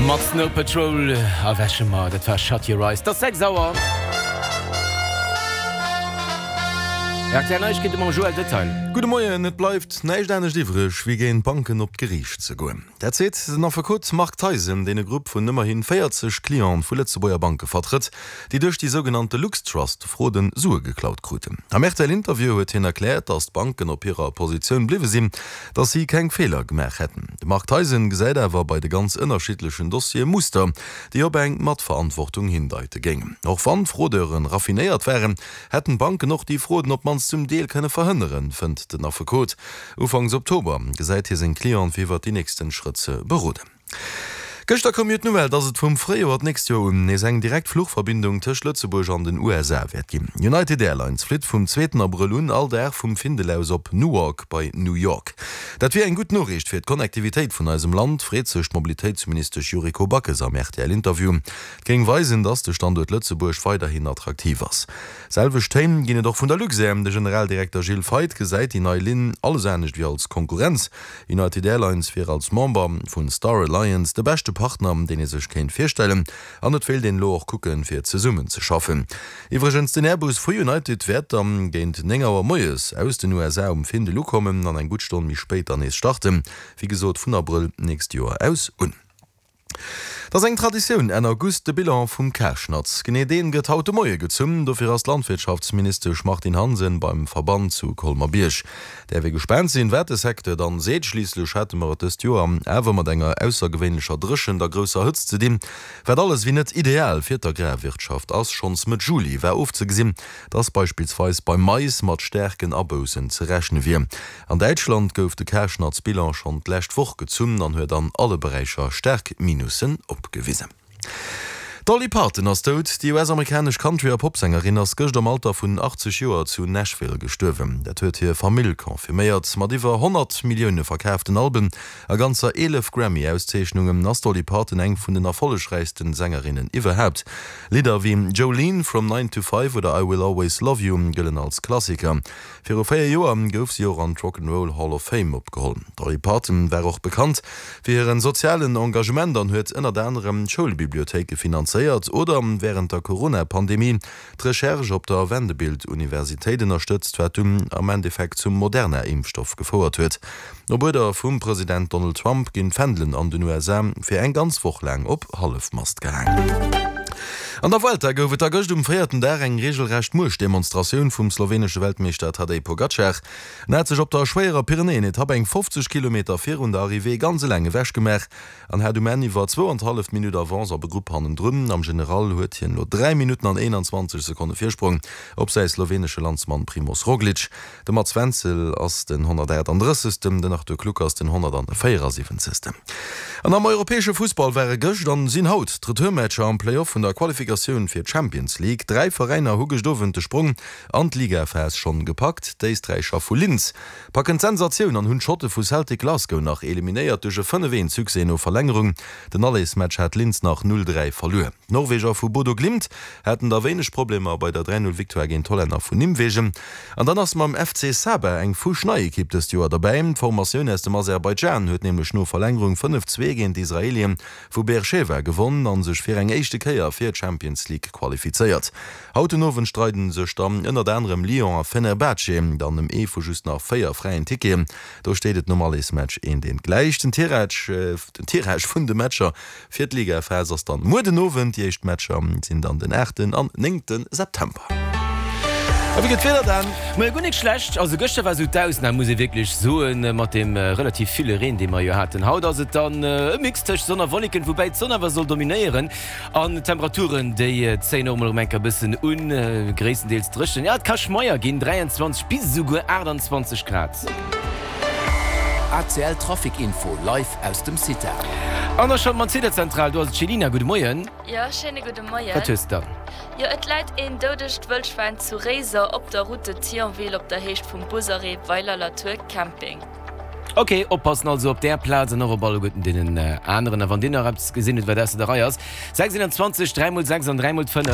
Mat Snow Patrol erwäche mer. Dat war Shut Your Eyes. 't ass 6 Auer. Rtl Neiegkeete mam Joël Detail. Gudde Moien, Et bleift näischt anescht iwwreg, wéi géint d'Banken op d'Geriicht ze goen. Dat seet den Affekot Marc Theisen, deen e Grupp vun ëmmerhi 40 Cliente vu Lëtzebuerger Banke vertrëtt, déi duerch déi sougenannte LuxTrust-Fraude Sue geklaut kruten. Am RTL-Interview huet hien erkläert, datt d'Banken op hirer Positioun bliwwe sinn, datt si keng Feeler gemaach hätten. De Marc Theisen gesäit awer bei de ganz ënnerschiddlechen Dossiere Muster, déi op eng Matverantwortung hindeite géingen. Och wann d'Fraudeuren raffinéiert waren, hätten d'Banken och déi Fraude op d'mannst zum Deel kënne verhënneren, fënnt den Affekot. Ufanks Oktober gesäit hie seng Clienten fir iwwert déi nächsten Schrëtt ze beroden. Gëschter koum jo d'Nouvelle, dass et vum Fréijoer d'nächst Joer un nees eng direkt Fluchverbindung tëscht Lëtzebuerg an den USA wäert ginn. United Airlines flitt vum zweeten Abrëll un all Dag vum Findel aus op Newark bei New York. Dat wier eng gutt Noriicht fir d'Connectivitéit vun eisem Land, freet sech d'Mobilitéitsministesch Yuriko Backes am RTL-Interview. Et géing weisen, dass de Standuert Lëtzebuerg weiderhin attraktiv ass. Selwecht Téin ginn et och vun der Luxair. De Generaldirekter Gilles Feith gesäit déi nei Linn alles anescht wéi als Konkurrenz. United Airlines wier als Member vun Star Alliance de beschte Partner, deen ee sech kéint virstellen an et wéilt een elo och kucken, fir zesummen ze schaffen. Iwwregens, den Airbus vu United wäert dann géint 9 Auer moies aus den USA um Findel ukommen an eng gutt Stonn méi spéit dann nees starten, wéi gesot vun Abrëll nächst Joer aus un. Et ass eng Traditioun, Enn August de Bilan vum Karschnatz. Genee deen gëtt haut de Moie gezunn. Dofir ass d'Landwirtschaftsministesch Martine Hansen beim Verband zu Colmer-Bierg. Däerf ee gespaant sinn, wat de Secteur dann seet. Schliisslech hate mer et dëst Joer awer mat enger aussergewéinlecher Dréchent a grousser Hëtzt ze dinn, wat alles wéi net ideal fir d'Agrarwirtschaft ass. Schonns Mëtt Juli war ofzegesinn, dass beispillsweis beim Mais mat staarken Aboussen ze rechne wier. An Däitschland gouf de Karschnatz-Bilan schonn d'lescht Woch gezunn an huet an alle Beräicher staark Minussen opgewisen. D'Dolly Parton ass dout. Déi US-amerikanesch Country a Popsängerin ass gëscht am Alter vun 80 Joer zu Nashville gestuerwen. Dat huet hir Famill confirméiert. Mat iwwer 100 Millioune verkaaften Alben a ganzer 11 Grammy-Auszeechnungen ass d'Dolly Parton eng vun den erfollegräichsten Sängerinnen iwwerhaapt. Lidder wéi Jolene, From Nine to Five oder I Will Always Love You gëllen als Klassiker. Viru 4 Joer gouf si och an d'Rock 'n' Roll Hall of Fame opgeholl. D'Dolly Parton war och bekannt fir hiren sozialen Engagement an huet ënnert anerem Schoulbibliothéike finanzéiert oder wärend der Corona-Pandemie d'Recherche op der Vanderbilt Universitéit ënnerstëtzt, wat dunn am Endeffekt zum Moderna-Impfstoff gefouert huet. Op Uerder vum President Donald Trump ginn d'Fändelen an den USA fir eng ganz Woch laang op Hallefmast gehaang. An der Vuelta gouf et da gëscht um véierten Dag eng reegelrecht Muechtdemonstratioun vum slowenesche Weltmeeschter Tadej Pogacar. En hat sech op der schwéierer Pyrenäen-Etapp eng 50 Kilometer virun der Arrivée ganz eleng ewech gemaach an hat um Enn iwwer zwou an d'halleft Minutt Avance op e Grupp hannendrun. Am General huet hien elo 3 Minutten an 21 Sekonne Virsprong op säi slowenesche Landsmann Primoz Roglic. De Mats Wenzel ass den 138. Den Arthur Kluckers den 174. An am europäesche Fussball ware gëscht an sinn haut d'Retourmatcher am Play-Off vun der Qualifikatioun fir d'Champions League. 3 Veräiner hu gëscht Owend de Sprong an d'Ligaphas schonn gepackt. D'Éisträicher vu Linz packen d'Sensatioun an hunn d'Schotte vu Celtic Glasgow nach eliminéiert duerch e 5, 1 Succès no Verlängerung. Den Allersmatch hat Linz nach 0, 3 verluer. D'Norweger vu Bodo Glimt haten da wéineg Problemer bei der 3, 0 Victoire géint d'Hollänner vun Nimwegen. An dann ass mam FC Sabah eng fuschnei Ekipp dëst Joer derbäi. D'Formatioun aus dem Aserbaidschan huet nämlech no Verlängerung 5, 2 géint d'Israelien vu Beersheva gewonn a sech fir eng éischte Kéier fir d'Champions League qualifizéiert. Haut den Owend streiden sech dann ënnert anerem Lyon a Fenerbahce dann ëm ee vu just nach 4 fräien Ticketen. Do steet et nom Allersmatch eent eent gläich. Den Tirage den Tirage vun de Matcher fir d'Ligaphas ass dann muer den Owend. Déi éischt Matcher sinn dann den aachten an néngte September. A wéi gëtt d'Wieder dann? Moie, guer nik schlecht. Also gëschter war sou d'Ausnam, muss ee wierklech soen, mat deem relativ ville Reen, dee mer jo haten. Haut ass et dann e Mix tëscht Sonn a Wolleken, woubäi d'Sonn awer soll dominéieren. An d'Temperaturen, déi zéien och emol erëm eng Kéier e bëssen un, gréisstendeels dréchen. Jo, et ka schmeier ginn, 23 bis esouguer 28 Grad. ACL Trafic Info live aus dem CITA. An da schalte mer an d'Zitazentral, do ass et d'Chelina. Gudde Moien. Jo, schéine gudde Moien. Wat hues de dann? Jo, et läit een doudegt Wëllschwäin zu Réiser op der Route de Thionville op der Héicht vum Busarrêt Weiler-la-Tour Camping. Ok, oppassen also op där Plaz an och op alleguerten deenen aneren. A wann dir nach eppes gesinn hutt, wat ausser der Rei ass, 6 21 3 mol 6 an 3 mol 5.